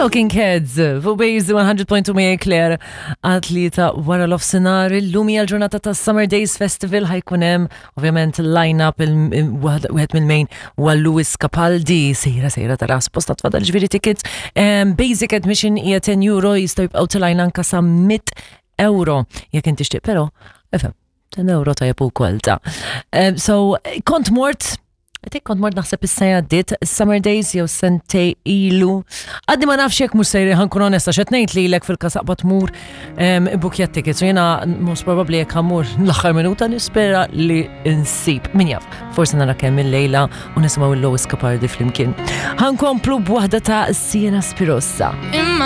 Talking Heads, fuq Base 100.2 miegħi Claire, għat-tlieta wara l-ofsinar, illum hija l-ġurnata ta' Summer Days Festival ħajkun hemm ovvjament line-up wieħed mill-main huwa Lewis Capaldi, sejra sejra tara sposta tfadal ġifieri tickets. Basic admission hija 10 euro jistgħu jibqgħu tilgħin anka sa 100 euro jekk inti tixtieq, però ifhem 10 euro tajjeb ukoll ta'. So kont mort Għetik kont mort naħseb is-sena għaddiet, Summer Days jew sentej ilu. Għaddi ma nafx jekk mhux sejri ħankun onesta x'qed ngħid lilek fil-kasaqba tmur ibbukja tickets. U jiena most probably jekk ħammur l-aħħar minuta nispera li nsib. Min jaf, forsi nara kemm il-lejla u nisimgħu il-Lowis Capardi flimkien. Ħankomplu b'waħda ta' Siena Spirossa. Imma.